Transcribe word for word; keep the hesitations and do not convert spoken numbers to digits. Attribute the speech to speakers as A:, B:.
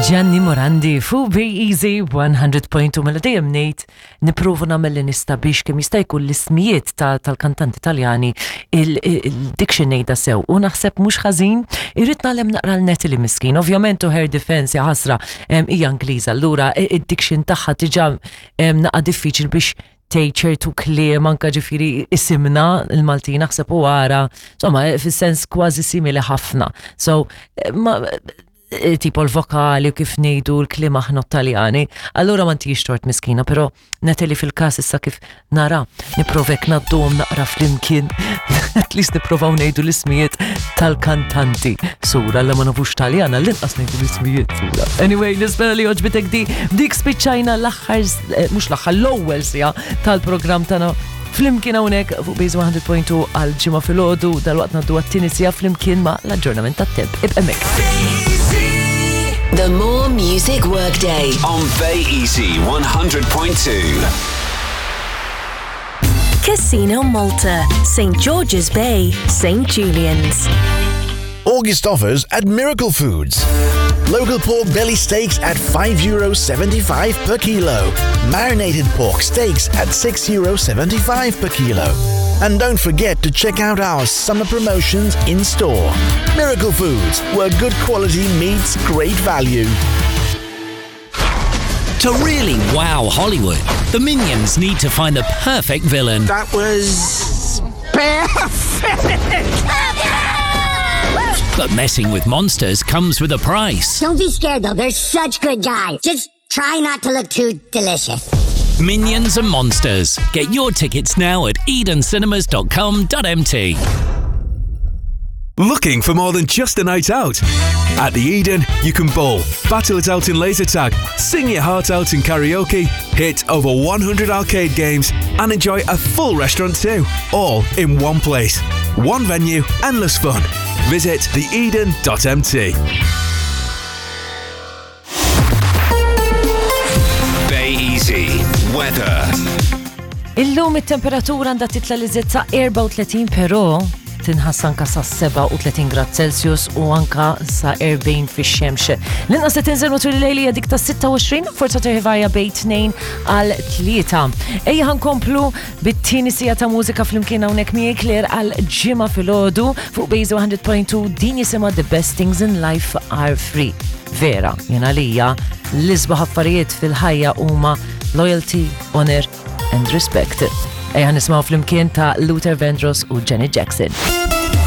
A: Gianni Morandi fuq Easy one hundred point two. Mela dejjem ngħid nipprova nagħmel li nista' biex kemm jista' jkun l-ismijiet tal-kantanti Taljani, il-diction ngħidha sew, u naħseb mhux ħażin. Irrid nagħlem naqra l-Natalie miskin. Ovvjament to her defense, ja ħasra, hija Ingliża, allura id-diction tagħha diġà naqa' diffiċil biex tgħid ċertu kliem, anka ġifieri isimna il-Maltin naħseb u għara, insomma, fis-sens kważi simili ħafna. So, ma, tipo l-vokali u kif ngħidu l-kliem aħna Taljani. Allura ma ntix tort miskina, però Natalie fil-kas issa kif nara, nipprova ngħaddum naqra flimkien, at least nipprovaw ngħidu l-ismijiet tal-kantanti. Sura, la ma nafux Taljana, l-inqas ngħidu l-ismijiet sura. Anyway, nispera li għoġbitek di, dik spiċċajna l-aħħar, eh, mhux l-aħħar, l-ewwel siegħa tal-programm tagħna flimkien hawnhekk fuq Base one hundred point two għal Ġimgħa filgħodu. Dalwaqt ngħaddu għat-tieni siegħa flimkien ma' l-aġġornament tat-temp. Ibqa' hemmhekk.
B: The More Music Workday.
C: On Bay Easy one hundred point two.
B: Casino Malta, Saint George's Bay, Saint Julian's.
D: August offers at Miracle Foods. Local pork belly steaks at five euro seventy-five per kilo. Marinated pork steaks at six euro seventy-five per kilo. And don't forget to check out our summer promotions in store. Miracle Foods, where good quality meets great value.
E: To really wow Hollywood, the Minions need to find the perfect villain.
F: That was perfect!
E: But messing with monsters comes with a price.
G: Don't be scared, though, they're such good guys. Just try not to look too delicious.
E: Minions and Monsters. Get your tickets now at edencinemas dot com dot M T.
H: Looking for more than just a night out? At the Eden, you can bowl, battle it out in laser tag, sing your heart out in karaoke, hit over one hundred arcade games, and enjoy a full restaurant too. All in one place. One venue, endless fun. Visit theeden dot M T.
C: Bay Easy. Weather.
A: Illum it-temperatura għandha titla li sa erbgħa u tletin, però tinħass anka sa sebgħa u tletin grad Celsius u anka sa erbgħin fix-xemx. L-inqas se tinżel matul il-lejl hija dik ta' sitta u għoxrin, forza terħivarja bejn tnejn għal tlieta. Ejja ħa nkomplu bit-tieni siegħa ta' mużika flimkien hawnhekk miegħi Claire għal Ġimgħa filgħodu fuq Base one hundred point two. Din jisimha "The Best Things in Life Are Free". Vera, jena lija l-isbaħ affarijiet fil-ħajja huma loyalty, honor and respect. Ejja nisimgħu flimkien ta' Luther Vandross u Janet Jackson.